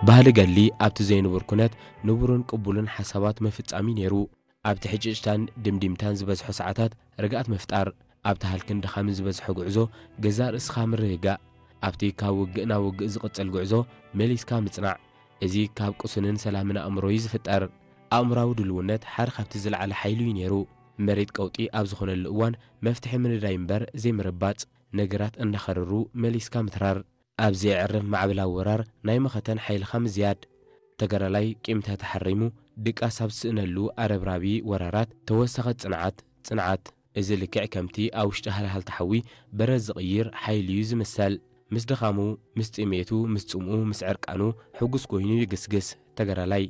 ባህሊ ገድሊ ኣብቲ ዘይንቡር ኩነት ንቡርን ቅቡልን ሓሳባት ምፍጻም እዩ ነይሩ። ኣብቲ ሕጭጭታን ድምዲምታን ዝበዝሖ ሰዓታት ርግኣት ምፍጣር፣ ኣብቲ ሃልክን ድኻምን ዝበዝሖ ጉዕዞ ገዛእ ርእስኻ ምርግጋእ፣ ኣብቲ ካብ ውግእ ናብ ውግእ ዝቕጽል ጉዕዞ መሊስካ ምጽናዕ፣ እዚ ካብ ቅሱንን ሰላምን ኣእምሮ እዩ ዝፍጠር። ኣእምራዊ ድልውነት ሓደ ካብቲ ዝለዓለ ሓይሊ እዩ ነይሩ። መሬት ቀውጢ ኣብ ዝኾነሉ እዋን መፍትሒ ምንዳይ እምበር ዘይምርባጽ፣ ነገራት እንዳኸረሩ መሊስካ ምትራር። ኣብ ዘየዕርፍ ማዕበላዊ ወራር ናይ መኸተን ሓይልኻ ምዝያድ። ተጋዳላይ ቂምታ ተሓሪሙ ድቃስ ኣብ ዝስእነሉ ኣረብራቢ ወራራት ተወሰኸ ጽንዓት፣ ጽንዓት። እዚ ልክዕ ከምቲ ኣብ ውሽጢ ሃልሃልታ ሓዊ በረድ ዝቕይር ሓይሊ እዩ ዝምሰል። ምስ ድኻሙ፣ ምስ ጥሜቱ፣ ምስ ጽምኡ፣ ምስ ዕርቃኑ ሕጉስ ኮይኑ ይግስግስ ተጋዳላይ።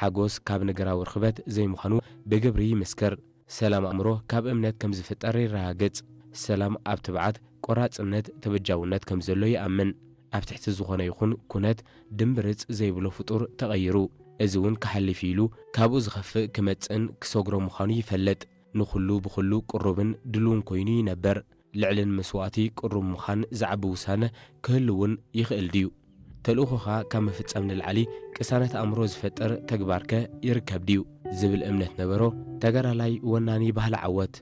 ሓጎስ ካብ ነገራዊ ርኽበት ዘይምዃኑ ብግብሪ ይምስክር። ሰላም ኣእምሮ ካብ እምነት ከም ዝፍጠር የረጋግጽ። ሰላም ኣብ ትብዓት፣ ቆራጽነት፣ ተበጃውነት ከም ዘሎ ይኣምን። ኣብ ትሕቲ ዝኾነ ይኹን ኩነት ድምብርጽ ዘይብሎ ፍጡር ተቐይሩ። እዚ እውን ክሓልፍ ኢሉ ካብኡ ዝኸፍእ ክመጽእን ክሰግሮ ምዃኑ ይፈልጥ። ንኹሉ ብኹሉ ቅሩብን ድሉውን ኮይኑ ይነበር። ልዕልን መስዋእቲ ቅሩብ ምዃን ዝዓቢ ውሳነ ክህሉ እውን ይኽእል ድዩ? ተልእኾኻ ካብ ምፍጻም ንላዕሊ ቅሳነት ኣእምሮ ዝፈጥር ተግባርከ ይርከብ ድዩ? ዝብል እምነት ነበሮ ተጋዳላይ ወናኒ ባህሊ ዓወት።